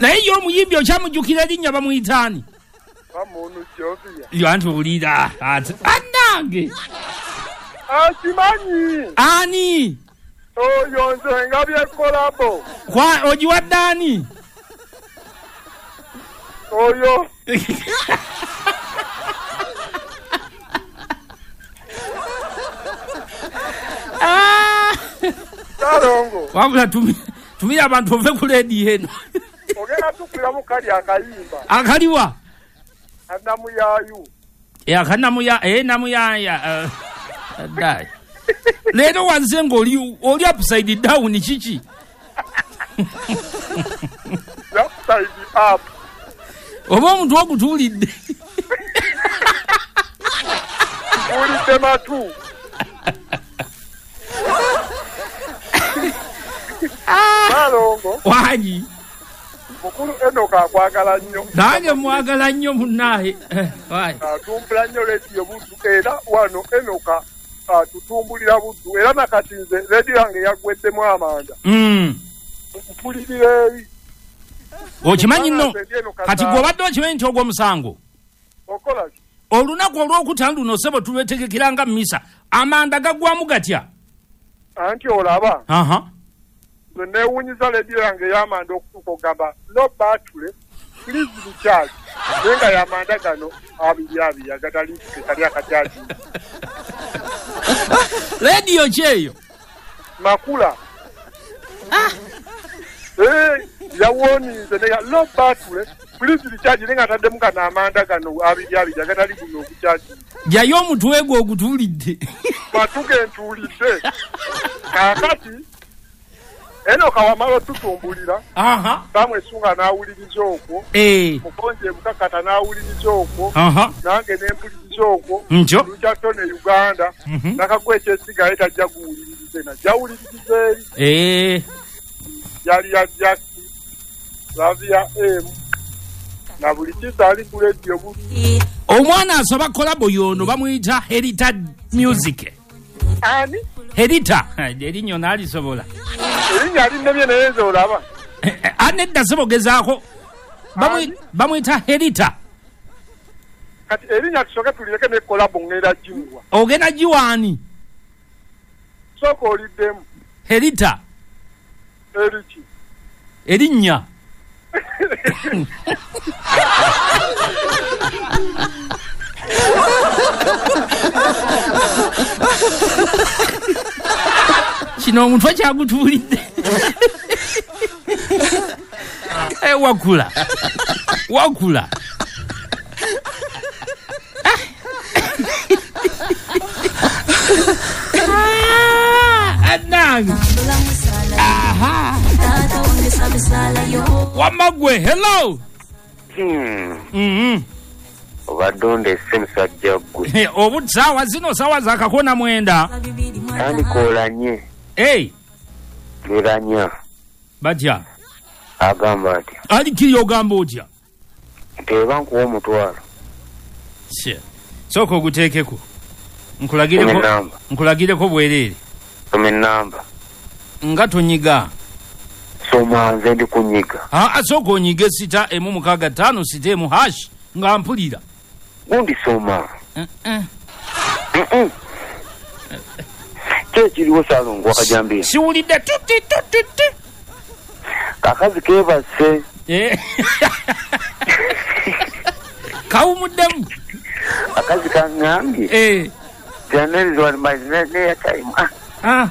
Naye ye omuyimbi okyamujjukira erinnya bamuyita ani? Bamunu Jovia. Yo anti owulira ati annange. Akimanyi. Ani? Oyo nze ngabye kolabo. Kwa ogiwadde ani? Oyo. Ah! Salongo. Wabula tumira abantu ove ku leediyo eno. Ogenda tukuliramu kali akayimba. Akaliwa? Anamuyaayu. Akanamuya, namuyaya. Dai. Leero wanze ng'oli oli upside down kiki? Upside up. Oba omuntu ogutuulidde. Tuulidde matu. Salongo. Wangi. Mukulu Enoka akwagala nnyo. Nange mwagala nnyo munnaaye. Wangi. Atumbula nnyo leediyo Buddu era wano Enoka atutumbulira Buddu era nakati nze leediyo yange yaggweddemu amanda. Mpulirira eri. Okimanyi nno kati gw'obadde okimanyi nti ogw'omusango. Okola ki? Olunaku olwokutaano luno ssebo tulwetegekera nga mmisa. Amanda gaggwamu gatya? Anti olaba. Nze neewuunyiza leediyo yange ey'amanda okutuuka okugamba no battery, please recharge. Naye nga y'amanda gano abiri abiri agatali kali akacharge. Leediyo ki eyo? Makula. Yawoninze ne no battery, please recharge naye nga ataddemu gano amanda gano abiri abiri agatali guno okucharge. Jayo omutwe gwo ogutuulidde. Matu ge ntuulidde. Kaakati Enoka wamala otutumbulira. Bamwesunga n'awuliriza okwo. Mukonje mukakata n'awuliriza okwo. Nange ne mpuliriza okwo. Lukya Tone Uganda. Nakagwa ekyesigaye tajja guwuliririze najja awuliririza eri. Yali ya Jackie, Lavia M, na buli kisa ali ku leediyo Buddu. Omwana asaba kolabo y'ono bamuyita Herita Music. Ani? Herita. Erinnya n'alisobola. Erinnya linnemye naye nze olaba. Anedda ssebo gezaako. Bamuyita Herita. Kati erinnya tusooke tulireke ne kolabo ngenda gimuwa. Ogenda giwa ani? Sooka oliddemu. Herita. Eriki? Erinnya. Kino omutwe kyagutuulidde. Wakula. Wakula. Anange. Aha. Wamagwe, hello. Obadde ondese musajja ggwe. Obu saawa zino saawa za kakona mwenda. Tandika olanye. Leranya. Batya. Agamba atya? Ali kiri ogamba otya? Nteeba nkuwa omutwalo. Sooka oguteekeko. Nkulagireko bwereere. Soma ennamba. Nga tonyiga. Soma nze ndi kunyiga. Sooka onyige 6 6 5 6 hash nga mpulira. Gundi soma. Ki ekiriwo Salongo wakajambiya? Siwulidde tuti tuti ti. Kakazi keebase. Kawumuddemu. Akazi kaŋŋambye.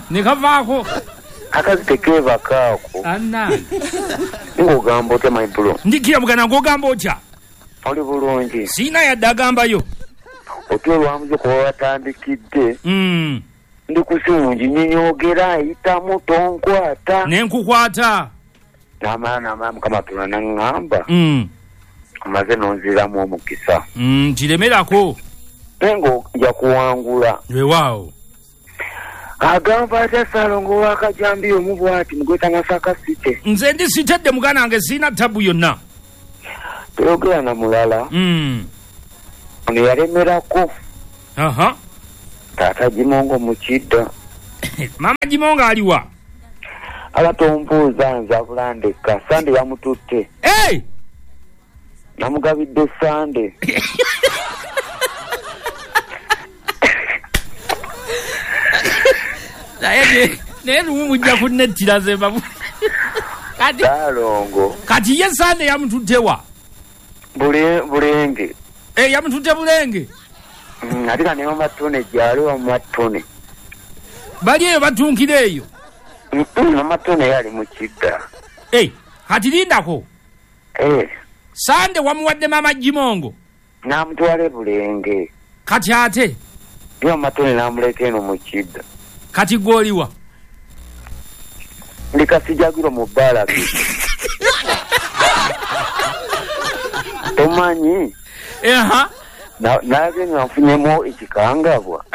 Ne kavaako. Akazi tekeebakaako. Annange. Ng'ogamba otya my bro? Ndikira muganda ng'ogamba otya? Oli bulungi. Siina yadde agambayo. Otya olwamuze kuba watandikidde. Ndi ku simu nginyinyogera ayitamu tonkwata. Ne nkukwata. N'amala Mukama Katonda n'aŋŋamba. Omaze n'onziramu omukisa. Nkiremerako. Naye ng'ojja kuwangula. Weewaawo. Agamba atya Salongo w'akajambiya omu bw'ati mugweta Masaka City. Nze ndi sitedde muganda wange sirina tabu yonna. Toyogera na mulala. Ono yalemerako. Taata Jimongo mu Kidda. Maama Jimongo aliwa? Ala tombuuza nze abulandeka. Sande yamututte. Hey! Namugabidde Sande. Naye lumu mujja kunnettira ze babu. Kati Saalongo. Kati ye Sande yamututte wa? Bulenge. Yamututte Bulenge. Ate ka ne Mama Tone gyali wa Mama Tone. Bali eyo batunkira eyo. Mama Tone yali mu kidda. Kati lindako. Sande wamuwadde Mama Jimongo. N'amutwala Bulenge. Kati ate? Ye Mama Tone n'amuleka eno mu kidda. Kati gw'oliwa? Ndi Kasijagiro mu bbalaki. Tomanyi? Nalabye nga nfunyemu ekikangabwa.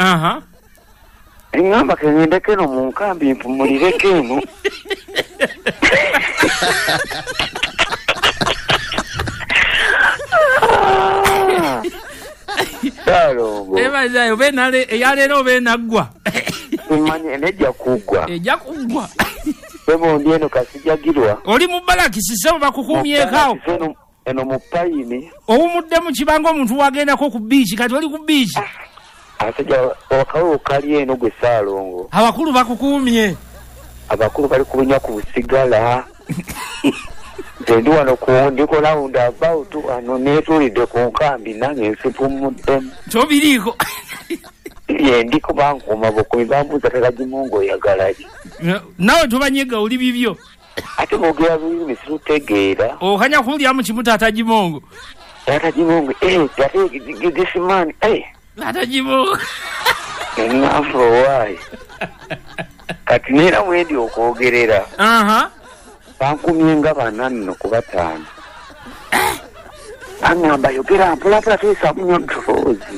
Ŋŋamba ke ŋŋendeko eno mu nkambi mpumulireko eno. Saalongo. Eyaleero oba enaggwa. Simanyi ejja kuggwa. Ejja kuggwa. Sebo ndi eno Kasijagirwa. Oli mu balakisi sebo bakukumyeko awo. Eno mu payini. Owumuddemu kibanga omuntu wagendako ku biiki kati oli ku biiki. Abasajja akawo kali eno gwe Saalongo. Abakulu bakukumye. Abakulu bali kubunya ku busigala. Nze ndi wano ndiko round about wano neetuulidde ku nkambi nange nsipumuddemu. Tobiriiko. Ye ndiko bankuuma bukuumi bambuuza Tata-Jimongo oyagala ki? Naawe tobanyega oli bibyo. Ate boogera lulimi sirutegeera. Okanya kulyamu kimu Tata-Jimongo. Tata-Jimongo, ate this man, Tata-Jimongo. Eŋŋamba owaaye. Kati neera mwendi okwogerera. Bankumye nga bana nno ku bataano. Baŋŋamba yogera mpolampola toyisaamu nnyo ddoboozi.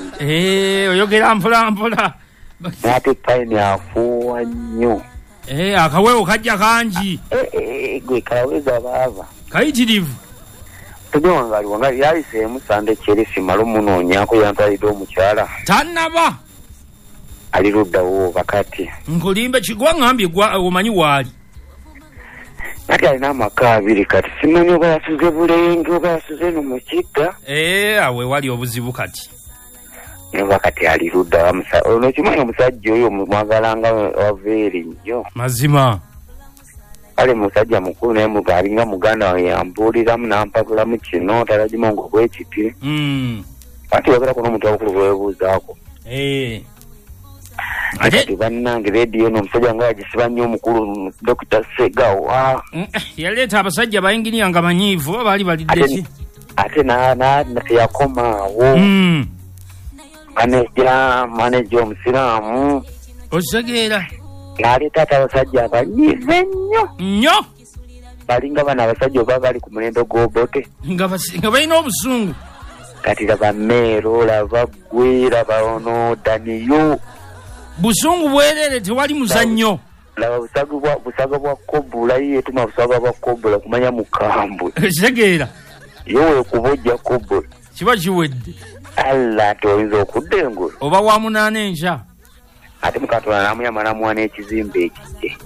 Oyogera mpolampola. N'ate payini afuuwa nnyo. Akaweewo kajja kangi. Gwe kaweza baava. Kayitirivu. Tojja wange ali wange yayiseemu Sande Kyeresi mmale omunoonyaako yantwalidde omukyala. Tannaba. Ali luddawo bakati. Nkulimbe kigwa ŋŋambye omanyi waali. Kati alina amaka abiri kati simanyi oba yasuze Bulenge oba yasuze eno mu kidda. Awo wali obuzibu kati. Oba kati ali ludda ono kimanyi omusajja oyo mwagalanga waveeri nnyo. Mazima. Kale musajja mukulu naye alinga muganda wange yambuuliramu n'ampabulamu kino Tata-Jimongo bwe kiti. Anti wabeerako n'omuntu abakulu gwe weebuuzaako. Kati bannange leediyo eno omusajja nga yagisiba nnyo omukulu Dr. Segawa. Yaleeta abasajja bayinginiya nga manyiivu oba baali balidde ki? Ate teyakoma awo. Maneja omusiraamu. Okitegeera. N'aleeta ate abasajja abanyiivu ennyo. Nnyo? Balinga bano abasajja oba bali ku mulembe gw'Obote. Nga balina obusungu. Kati laba Meero, laba ggwe, laba ono Daniyo. Busungu bwerere tewali muzannyo. Laba busaga bwa kobula ye yetuma busaga bwa kobula kumanya mukambwe. Okitegeera. Ye weekuba ojja kobula. Kiba kiwedde. Allah ate oyinza okudda engulu. Oba wa munaana enkya. Ate Mukatonda n'amuyamba n'amuwa n'ekizimbe ekikye.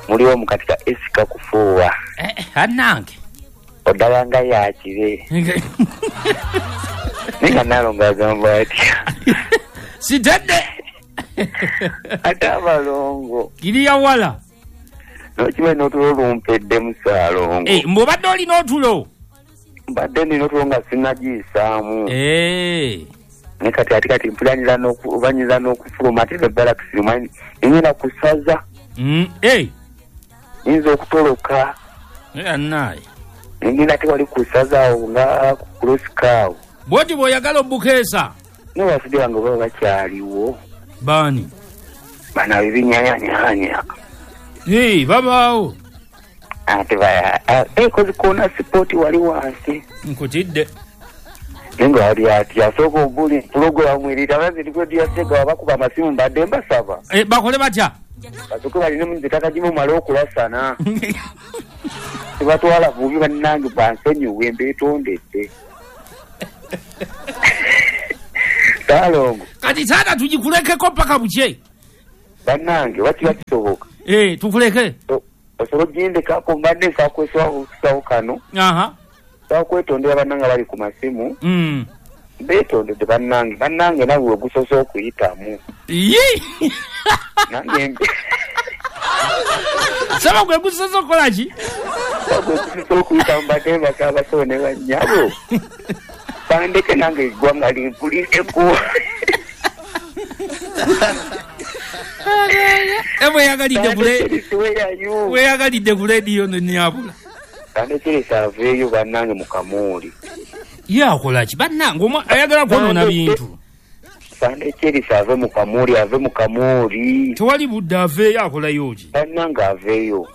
Muliwo mukatika esika kufuuwa. Annange. Oddala nga yakibe. Naye nga Naalongo agamba atya. Sitedde. Ate abalongo. Kiriya wala. N'okimanyi n'otulo lumpeddemu Saalongo. Mbu obadde olina otulo? Mbadde nina otulo nga sinnagiyisaamu. Naye kati ate kati mpulira banyiza n'okufuluma ate ne balakisi manyi ngenda kusaza. Nyinza okutoloka. Annaye. Ngenda tewali kusaza awo nga ku kulosika awo. Bw'oti bw'oyagala obukeesa. Naye basajja bange baba bakyaliwo. Baani? Bano abebinyanyanyanya. Babaawo. Ate kozi koona sipooti wali wansi. Nkutidde. Nenga wali ati asooka obuli pulogulaamu erita bazirikwe bakuba amasimu mbadde mbasaba. Bakole batya? Basooke balina nze Tata-Jimongo male okulasana. Tebatwala bubi bannange bansonyiwe mbeetondedde. Saalongo. Kati taata tugikulekeko paka bukye. Bannange wakiba kisoboka. Tukuleke. Osobola ogindekako mbadde nsaba kweswawo kano. Nsaba kwetondera bannange bali ku masimu. Beetondedde bannange nawe ogusoose okuyitamu. Nange saba gwe gusoose okukola ki? Gwe gusoose okuyitamu mbadde mbasaba basawo ne bannyabo. Bandeke nange eggwanga limpulireko. Weyagalidde ku leediyo nnyabula. Sande aveeyo bannange mu kamooli. Ye akola ki? Bannange ayagala kwonoona bintu. Sande ave mu kamooli, ave mu kamooli. Tewali budde aveeyo akolayo ki? Bannange aveeyo.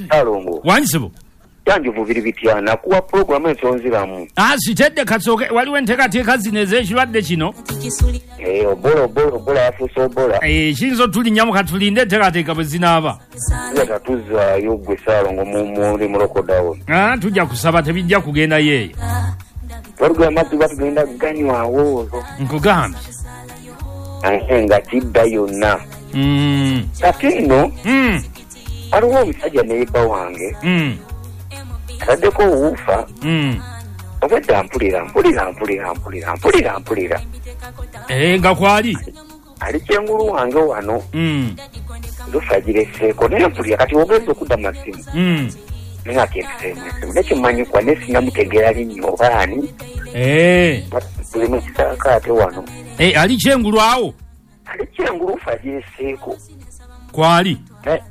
Salongo. Wangisebo. Yanjuvu biri bitya nakuwa pulogulaamu ensonziramu. Sitedde kasooke waliwo enteekateeka zino ez'ekirwadde kino. Obola yafuuse obola. Kiyinza otulinnyamu katulinde enteekateeka bwe zinaaba. Tuja tatuzaayo ggwe Salongo muli mu lockdown. Tujja kusaba tebijja kugendayo eyo. Walugula amazzi batugenda ganywawo. Nkugambye. Nga kidda yonna. Kati nno waliwo omusajja neighbor wange. Ataddeko owuufa. Obwedda mpulira. Nga kwali? Ali kyengulu wange wano. Lufa gireseeko naye mpulira kati ogenza okudda masimu. Naye akempiseemu esimu nekimanyikwa naye sinnamutegeera linnya oba ani. Tuli mu kisaakaate wano. Ali kyengulu awo? Ali kyengulu lufa gireseeko. Kwali?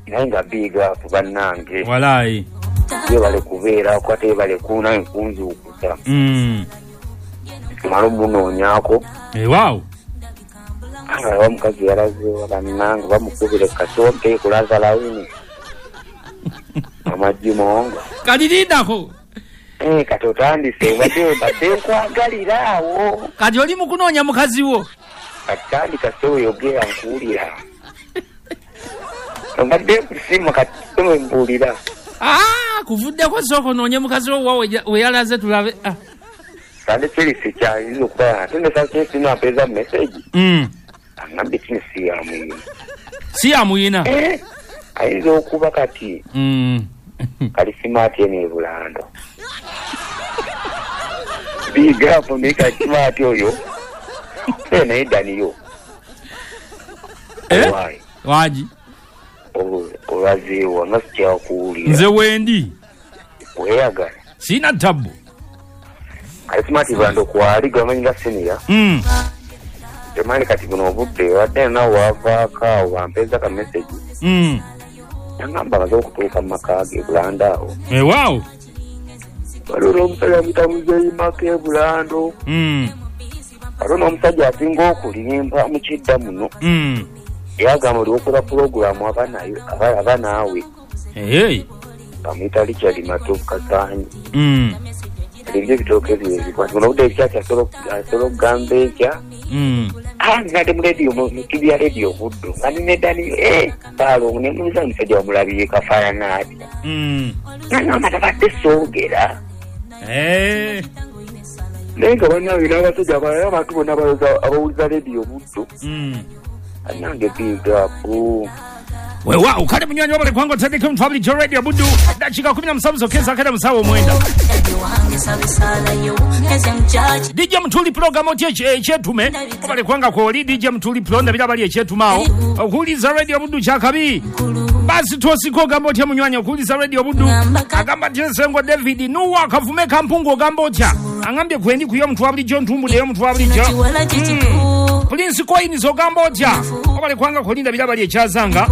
Naye nga big up bannange. Walaayi. Yebale kubeerako ate yebale nange kunzuukusa. Tumale omunoonyaako. Waawo. Aba omukazi yalazeewa bannange bamukubire kasonte kulaza lawini. Amajjimonga. Kati lindako. Kati otandise badde nkwagalira awo. Kati oli mu kunoonya mukazi wo. Kati tandika ssebo yogera nkuwulira. Mbadde nkusiima kati ssebo mbuulira. Kuvuddeko sooka onoonye mukazi wo we yalaze tulabe. Sande Chelsea kyayinza okuba ate ne Sande Chelsea nampeeza message. Angambye kino si ya muyina. Si ya muyina? Ayinza okuba kati. Kali simaati eno e Bulando. Big up naye kali simaati oyo. Naye Daniyo. Wangi? Olwazeewa nga sikyakuwulira. Nze wendi. Weeyagala. Sina tabbu. Kali simaati Bulando kwali gwamanyi nga senior. Temanyi kati buno obudde wadde nawe wavaako awo bampeeza ka message. Nangamba amaze okutuuka mu maka ge Bulando awo. Waawo. Waliwo n'omusajja amuyita Muzeeyi Maka e Bulando. Waliwo n'omusajja asinga okulimba mu kidda muno. Yagamba oli okola pulogulaamu aba naawe. Bamuyita Richard Matovu Kasaanyi. Alinga ebitooke bye ebikwata. Buno obudde ekyaki asobola okugamba enkya. Ngadde mu leediyo mu ttivi ya leediyo Buddu. Nga nina Daniyo Salongo ne mubuuza omusajja wamulabye kafaanana atya. Nangamba tabadde soogera. Naye nga bannange n'abasajja abalala abantu bonna abawuliza leediyo Buddu. Bannange big up. Weewaawo kale munywanyi wabale kubanga otandike omuntu bulijjo Radio Buddu dakiika 17 zokka akada musawo 9. DJ Mutuli Pro gamba otya ekyetume obale kubanga kwoli DJ Mutuli Pro ndabira bali ekyetumaawo okuwuliza Radio Buddu kyakabi. Basi twosiko ogamba otya munywanyi okuwuliza Radio Buddu agamba nti Nsengo David Nuwa Kavume Kampungu ogamba otya angambye kwendi kuyo omuntu wa bulijjo ntumbuddeyo omuntu wa bulijjo. Prince Coins ogamba otya obale kubanga kwoli ndabira bali ekyazanga.